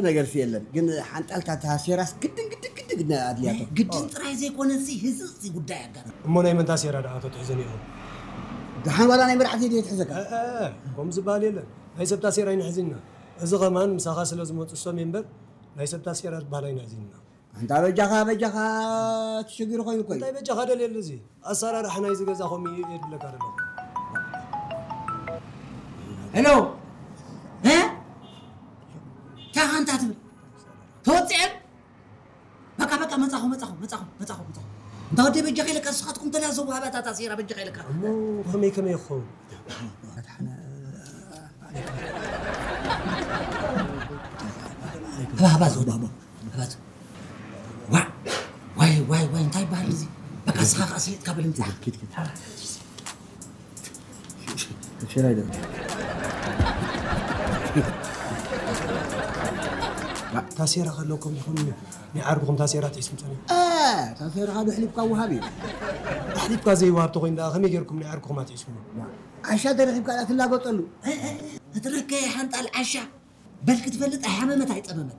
ነገርሲ የለን፣ ግን ሓንጣልታ እታ ሴራስ ግድን ግድን ግድን ኣድልያቶ። ግድን ጥራይ ዘይኮነሲ ህዝእ እዚ ጉዳይ ኣጋር። እሞ ናይ መንታ ሴራ ደኣ ተትሕዘን ኢኹም? ደሓን ዋላ ናይ መራሕቲ ድየ ትሕዘካ? ከምኡ ዝበሃል የለን። ናይ ሰብታ ሴራ ኣይንሕዝና። እዚ ኸማን ምሳኻ ስለ ዝመፁ እሶም እምበር ናይ ሰብታ ሴራ ዝበሃል ኣይንሕዝና። ኣንታ በጃኻ በጃኻ ትሽግር ኮይኑ ኮይ። እንታይ በጃኻ ደልየሉ? እዚ ኣሰራርሓ ናይዚ ገዛ ከምኡ እዩ የድብለካ ደሎ። ሄሎ፣ እ ታኻ እንታይ ትብል? ተወፅኤ? በቃ በቃ፣ መፃኹ መፃኹ መፃኹ መፃኹ መፃኹ። እንታ ወደይ በጃኻ ኢለካ፣ ንስኻትኩም ተላዘቡ። ሃባታታ ሴራ በጃኻ ኢለካ። እሞ ከመይ ከመይ ይኸውን? ሃባ ሃባ፣ ዝወደ ሃባ ሃባ። ዋ፣ ዋይ ዋይ ዋይ፣ እንታይ ይበሃል እዚ? በቃ ስኻ ከኣ ስሊጥካ በል፣ ምጻእ። ኪድ፣ ኪድ። ሽራይ ዶ? ታሴራ ከለኩም ይኹን፣ ናይ ዓርኩኹም ታሴራ ትሒዝኩም ጸኒሑ። ታሴራ ዶ ሕሊፍካ ወሃብ እዩ። ኣሕሊፍካ ዘይወሃብ ተኾይኑ ደኣ ከመይ ጌርኩም ናይ ዓርኩኹም ኣትሒዝኩም? ዓሻ ተረኺብካ ደኣ ትላገጠሉ። እትረከ ሓንጣል ዓሻ። በል ክትፈልጥ ኣይሓመመት ኣይጸመመት።